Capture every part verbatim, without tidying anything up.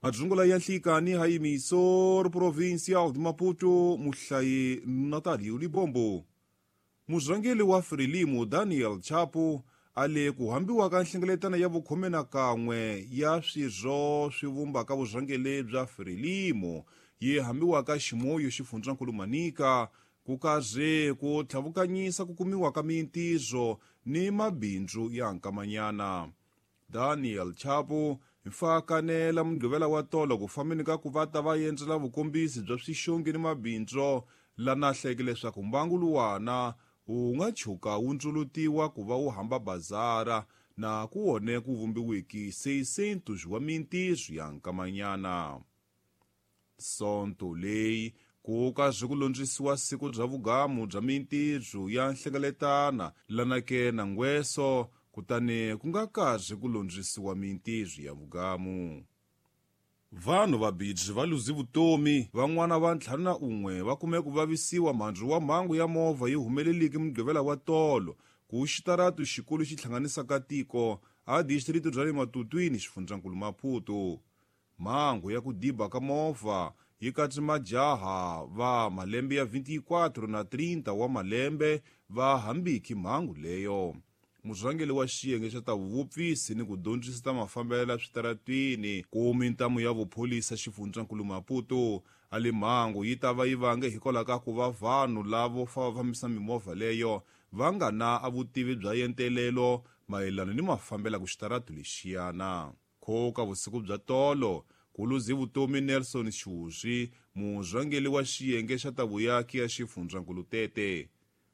Madzungula ya nhlikani ha emisor provincial de Maputo muhlayi Natalio Libombo. Murhangeri wa Frelimo Daniel Chapo a le ku hambiwa ka nhlengeletano ya vukhume na kan'we ya swirho swi vumbaka vurhangeri bya Frelimo yi hambiwaka Ximoyo xifundzankulu Manica ku karhi ku tlhavukanyisa ku kumiwa ka mintirho ni mabindzu ya nkamanyana. Daniel Chapo hi fakanela Mugqivela wa tolo ku fambeni ka ku va ta va endzela vukombisi bya swixongi ni mabindzu lana hleke leswaku mbangu luwana wu nga tshuka wu ndzulutiwa ku va wu hamba bazara na ku wone ku vumbiwiki seishentos wa mintirho ya nkamanyana. Sonto leyi ku karhi ku londzisiwa siku bya vugamu bya mintirho ya nhlengeletana lanake na ngweso kutani ku nga karhi ku londzisiwa mintirho ya vugamu. Vanhu vabirhi va luze vutomi van'wana va ntlhanu na un'we va kume ku vavisiwa mhandzu wa mhangu ya movha yi humeleleke Mugqivela wa tolo ku xitaratu xikulu xi hlanganisaka tiko a distrito bya le Matutwini xifundzankulu Maputo. Mhangu ya ku diba ka movha yi katse majaha va malembe ya vinte e quatro na trinta wa malembe va hambiki mhangu leyo. Murhangeri wa xiyenge xa ta vuvupfisi ni ku dyondzisa ta mafambelo ya switaratwini ku mintamu ya vupholisa xifundzankulu Maputo a le mhangu yi ta va yi vange hikwalaho ka ku va vanhu lavo fa va fambisa mimovha leyo va nga na a vutivi bya yentelelo mayelana ni mafambelo ku xitaratu lexiyana. Khoka vusiku bya tolo ku luze vutomi Nelson Xuzwi murhangeri wa xiyenge xa ta vuyaki ya xifundzankulu Tete.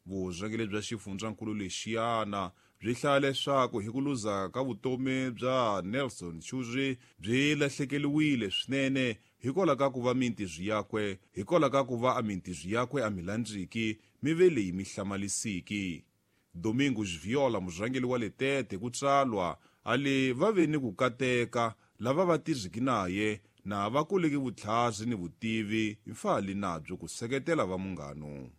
Vurhangeri bya xifundzankulu lexiyana byi hlaya leswaku hi ku luza ka vutomi bya Nelson Xuzwi byi lahlekeriwile swinene hikwalaho ka ku va mintirho yakwe hikwalaho ka ku va a mintirho yakwe a mi landziki mi ve leyi mi hlamalisiki. Domingos Viola murhangeri wa le Tete ku tsalwa a le va ve ni ku kateka lava va tirhiki naye na va kuleki vutlhari ni vutivi mfali nabyo ku seketela va munghano.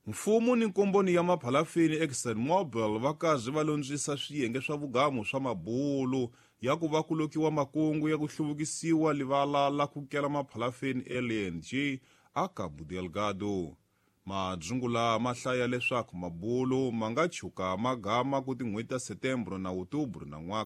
Mfumo ni nkomboni ya maphalafini ExxonMobil va karhi va londzisa swiyenge swa vugamu swa mabulu ya ku va ku lokiwa makungu ya ku hluvukisiwa livala la ku kela maphalafini L N G a Cabo Delgado. Madzungula ma hlaya leswaku mabulu ma nga tshuka ma gama ku tin'hweti ta Setembro na Outubro na n'waka.